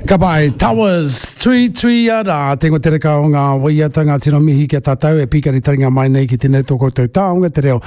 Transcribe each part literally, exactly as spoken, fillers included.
Ka pai, Towers, tui tui ara, te ingoa tereka o ngā waiata, ngā tino mihi ki a tātou e pīkari taringa mai nei ki tēnei tō koutou taonga te reo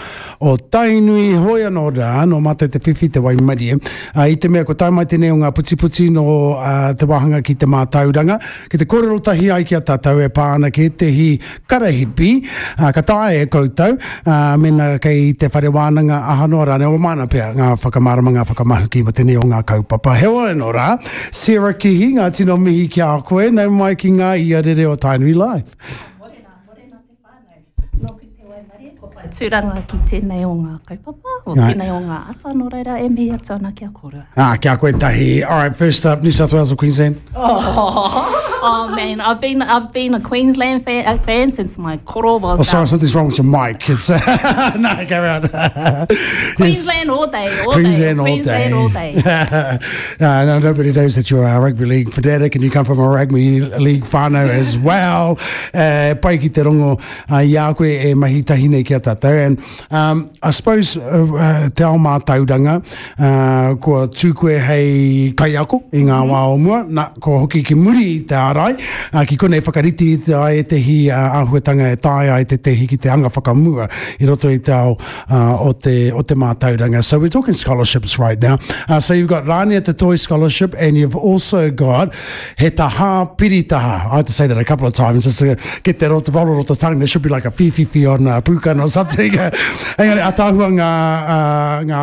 o Tainui, hoi anō rā, nō mātou te whiwhi te waimarie. Uh, I te mea ko tae mai tēnei o ngā putiputi nō uh, te wāhanga ki te mātauranga, ki te kōrero tahi ai ki a tātou e pā ana ki ētehi karahipi, uh, ka taea e koutou, uh, mena kei te whare wānanga aha noa rānei, o māna pea ngā whakamārama, ngā whakamahuki mo tēnei o ngā kaupapa. Heoi anō rā, Sarah Kihi, ngā tino mihi ki a koe, nau mai ki ngā ia rere o Tainui Live. Morena, morena te whānau. Nōku te waimarie, ko whai tūranga ki tēnei o ngā kaupapa, o Right. tēnei o ngā ata, nō reira e mihi atu ana ki a kōrua. Ah, kia koe tahi. All right, first up, New South Wales or Queensland? Oh, oh man, I've been I've been a Queensland fan, a fan since my koro was Oh, sorry, um, something's wrong with your mic. It's no, carry on. Yes. Queensland all day, all Queensland day, all Queensland day. all day. uh, no, nobody knows that you're a rugby league fanatic and you come from a rugby league whānau as well. Uh, pai ki te rongo uh, i a koe e mahi tahi nei ki a tātou. And um, I suppose uh, uh, te ao mātauranga, uh, kua tū koe hei kaiako i ngā wā o mua, na, kua hoki ki muri i te ārai, uh, ki konei whakarite i te ai ētehi uh, āhuatanga e taea ai tētehi ki te anga whakamua i roto i te ao uh, o, te, o te mātauranga. So we're talking scholarships right now. Uh, so you've got Rania Te Toi Scholarship and you've also got He Taha Piritaha. I had to say that a couple of times just to get that off the roll off the tongue. There should be like a whiwhiwhi on uh, pūkana or something. Engari, ataahua ngā, uh, ngā,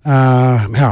uh, ngā,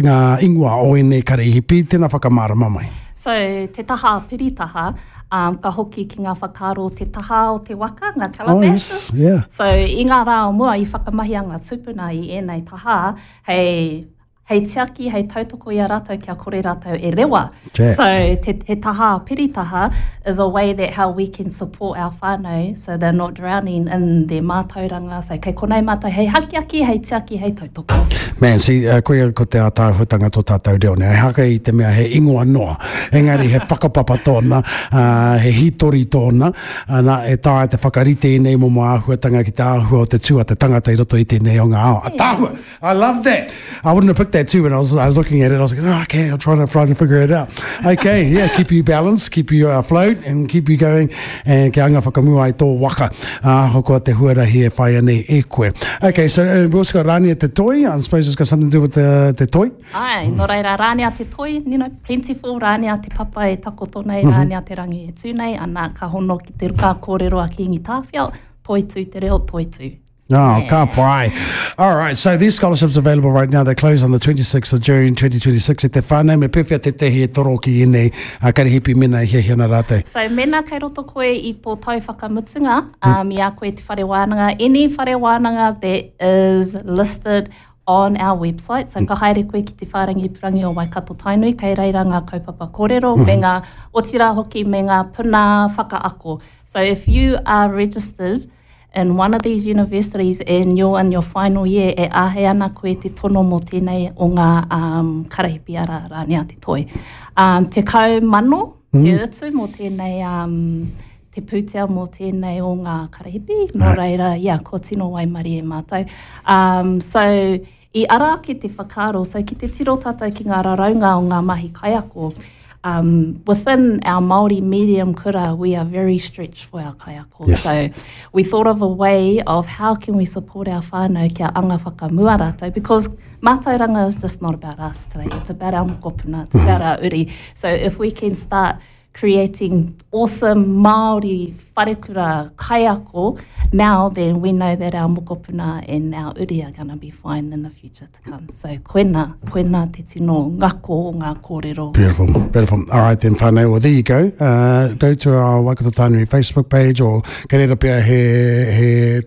ngā ingoa o ēnei karahipi, tēnā whakamārama mai. So, te taha piritaha, um, ka hoki ki ngā whakaaro te taha o te waka, ngā Oh, calabashes. yes, yeah. So, i ngā rā o mua i whakamahia ngā tūpuna i ēnei taha, hei, hei tiaki, hei tautoko i a rātou kia kore rātou e rewa. Okay. So, te, te taha piritaha is a way that how we can support our whānau so they're not drowning in their mātauranga. So, kei konei mātou hei hakiaki, hei tiaki, hei tautoko. Man, see, uh, koia ko te ātaahuatanga tō tātou reo nei. Haka i te mea he ingoa noa. Engari he whakapapa tōna, uh, he hitori tōna, ana, e taea te whakarite i nei momo āhuatanga ki te āhua o te tū a te tangata i roto i tēnei o ngā ao. Ataahua! I love that! I wouldn't have picked that too when I was, I was looking at it. I was like, oh, okay, I'm trying to, trying to figure it out. Okay, yeah, keep you balanced, keep you afloat, and keep you going, and kia anga whakamua i tō waka. Uh, hoko te huarahi e whai nei e koe. Okay, so uh, we also got Rania Te Toi. I suppose it's got something to do with the, te toi. Ai, nō reira, Rānea te toi, you know, plentiful, Rānea te papa e takoto nei, Rānea te rangi e tū nei, ana ka hono ki te ruka kōrero a Kingi Tāwhiao, toi tū te reo, toi tū. Oh, ka pai. All right, so these scholarships available right now. They close on the twenty-sixth of June twenty twenty-six. E te whānau, me pēwhea tētehi e toro ki ēnei uh, karahipi mena e hiahia ana rātou? So, mena kei roto koe i tō tau whakamutunga, um, i a koe te whare wānanga, any whare wānanga that is listed on our website. So, ka haere koe ki te whārangi purangi o Waikato Tainui, kei reira ngā kaupapa kōrero, me ngā otira hoki me ngā puna whakaako. So, if you are registered in one of these universities and you're in your final year, e āhei ana koe te tono mō tēnei o ngā um, karahipi ara Rānea te toi. Um, te kau mano, te utu mō tēnei um, te pūtea mō tēnei o ngā karahipi. Nō reira, ia, ko tino waimarie mātou. Um, so, i ara ake te whakaaro, so ki te tiro tātou ki ngā raraunga o ngā mahi kaiako, um, within our Māori medium kura, we are very stretched for our kaiako. Yes. So we thought of a way of how can we support our whānau kia anga whakamua rātou, because mātauranga is just not about us today. It's about our mokopuna, it's about our uri. So if we can start creating awesome Māori wharekura kaiako now, then we know that our mokopuna and our uri are gonna be fine in the future to come. So koena, koena te tino ngako o ngā kōrero. Beautiful, beautiful. All right then, whānau. Well, there you go. Uh, go to our Waikato Tainui Facebook page or kei reira pea he, he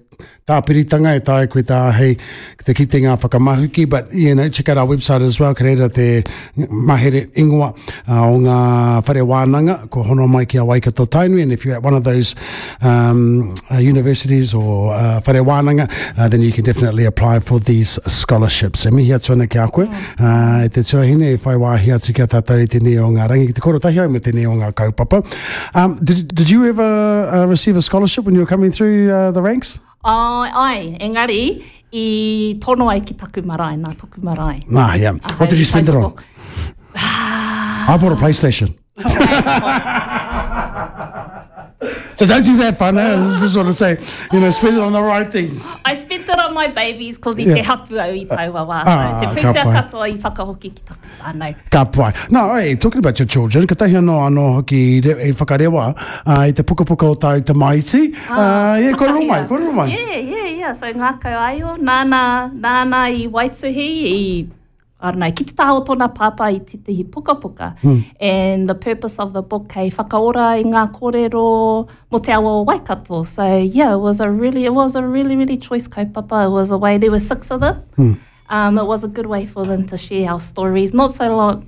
tāpiritanga e taea koe tā hei te kite ngā whakamahuki, but you know, check out our website as well, kei reira te mahere ingoa uh, o ngā whare wānanga, ko hono mai ki a Waikato Tainui, and if you're at one of those um, uh, universities or uh, whare wānanga, uh, then you can definitely apply for these scholarships. E mihi atu ana ki a koe, uh, e te tuahine e whai wāhi atu ki a tātou i tēnei o ngā rangi, ki te koro tahi au me tēnei o ngā kaupapa. Um, did, did you ever uh, receive a scholarship when you were coming through uh, the ranks? Ai, ai, engari, i tono ai ki taku marae, nā taku marae. Ah, yeah. What did you spend it on? Ah, I bought a PlayStation. So don't do that, partner. I just want to say, you know, spend it on the right things. I spent it on my babies cause i te hapu au i taua wā. Ah, So, te ka pūtea pai. katoa i whakahoki ki taku whānau. Ka pai. Now, hey, talking about your children, ka tahi anō anō hoki i re- i whakarewa uh, i te pukapuka o tāu tamaiti. Uh, yeah, kōrero mai, kōrero mai. Yeah, yeah, yeah. So ngākau aio, nāna, nāna i waituhi, i, I don't know, ki te taha o tōna pāpā i tētehi pukapuka. And the purpose of the book hei whakaora i ngā kōrero mō te awa o Waikato. So yeah, it was a really, it was a really, really choice kaupapa. It was a way, there were six of them. Um, it was a good way for them to share our stories. Not so long,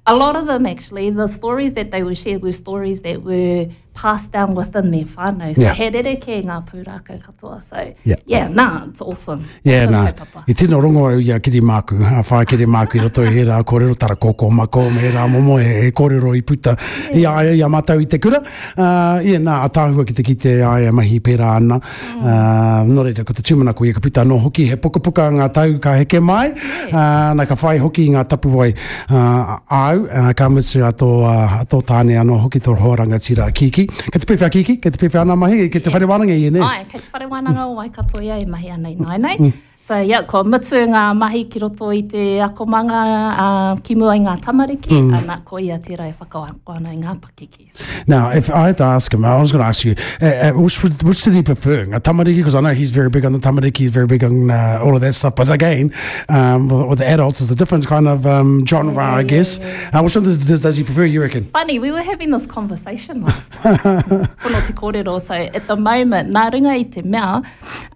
a lot of them actually, the stories that they were shared were stories that were passed down within their whānau. So Yeah. he rereke ngā pūrākau katoa. So Yeah. yeah, nah, it's awesome. Yeah, Awesome nā. kaupapa. I tino rongo au i a Kiri Māku, a whae Kiri Māku i roto i he rā kōrero, tara kōkō mako, me he rā momo he, he kōrero i puta i a ia, i a mātou i te kura. Uh, yeah, nā, a tāhua ki te kite ai a mahi pērā ana. Uh, nō reira, ko te tūmanako ia ka puta anō hoki, he pukapuka ngā tau ka heke mai, uh, nā ka whai hoki i ngā tapuwai uh, au, uh, ka mutu a tō, uh, a tō tāne anō hoki tō hoa rangatira a Kiki. Kei te pēwhea Kiki, kei te pēwhea ana mahi, kei te whare wānanga i e, nē? Ai, kei te whare wānanga o Waikato ia e mahi ana i nāianei. So, yeah, ko mutu ngā mahi ki roto i te akomanga uh, ki mua i ngā tamariki, mm. ana ko ia tērā e whakaako ana i ngā pakeke. Now, if I had to ask him, I was going to ask you, uh, uh, which, which did he prefer? Ngā tamariki, because I know he's very big on the tamariki, he's very big on uh, all of that stuff. But again, um, with, with the adults, it's a different kind of um, genre, Yeah, I yeah, guess. yeah, Uh, which one does, does he prefer, you reckon? Funny, we were having this conversation last night. Pono te kōrero. So at the moment, nā runga i te mea,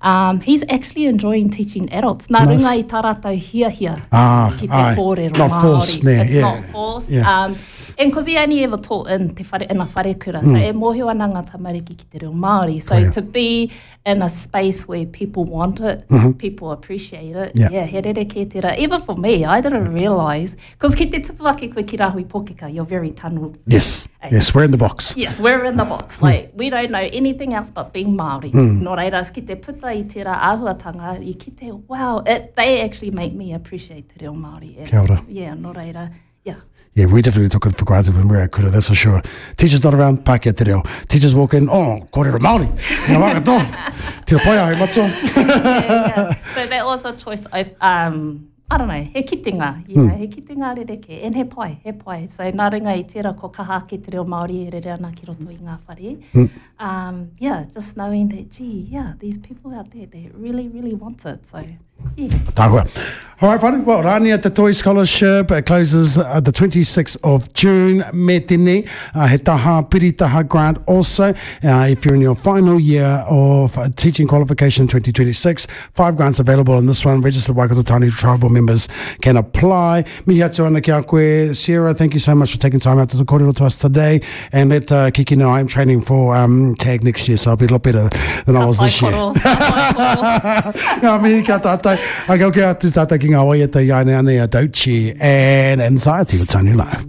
um, he's actually enjoying teaching adults. Nā Nice. runga i tā rātou hiahia Ah, ki te aye. kōrero Not Māori. forced, nē, It's yeah. not forced. Yeah. Um, and cause he only ever taught in te whare, in a wharekura, so e mōhio ana ngā tamariki ki te reo Māori. So Mm. Koia. to be in a space where people want it, people appreciate it, Mm-hmm. Yeah. yeah, he rere kē tērā. Even for me, I didn't realise, cause ki te tupu ake koe ki Rahui Pōkeka, you're very tunneled. Yes, Hey. yes, we're in the box. Yes, we're in the box. Like, we don't know anything else but being Māori. Nō reira, ki te puta i tērā āhuatanga, i kite, wow, it, they actually make me appreciate te reo Māori. And, Kia ora. Yeah, nō reira, yeah. Yeah, we definitely took it for granted when we were at kura, that's for sure. Teachers not around, Pākehā te reo. Teachers walk in, oh, kōrero Māori. Ngā wā katoa. Tino pai ai, matua. yeah, yeah. So that was a choice. I, um, I don't know, he kitenga, you know, he kitenga rereke, and he pai, he pai. So nā runga i tērā ko kaha ake te reo Māori e rere ana ki roto i ngā whare. Um, yeah, just knowing that, gee, yeah, these people out there, they really, really want it. So, yeah. Tāhua. All right, whānau. Well, Rania Te Toi Scholarship it closes uh, the twenty-sixth of June. Me tēnei, uh, he taha, piri taha grant also. Uh, if you're in your final year of uh, teaching qualification twenty twenty-six, five grants available on this one. Registered Waikato Tainui tribal members can apply. Mihi atu ana ki a koe. Sierra, thank you so much for taking time out to the kōrero to us today. And let uh, Kiki know I'm training for um, TAG next year, so I'll be a lot better than I was this year. Ka pai koro, ka pai koro. Ngā mihi kia tātou. Ai, kau kia atu tātou ki ngā waiata i aine ane a Dochi and Anxiety with Tainui Live.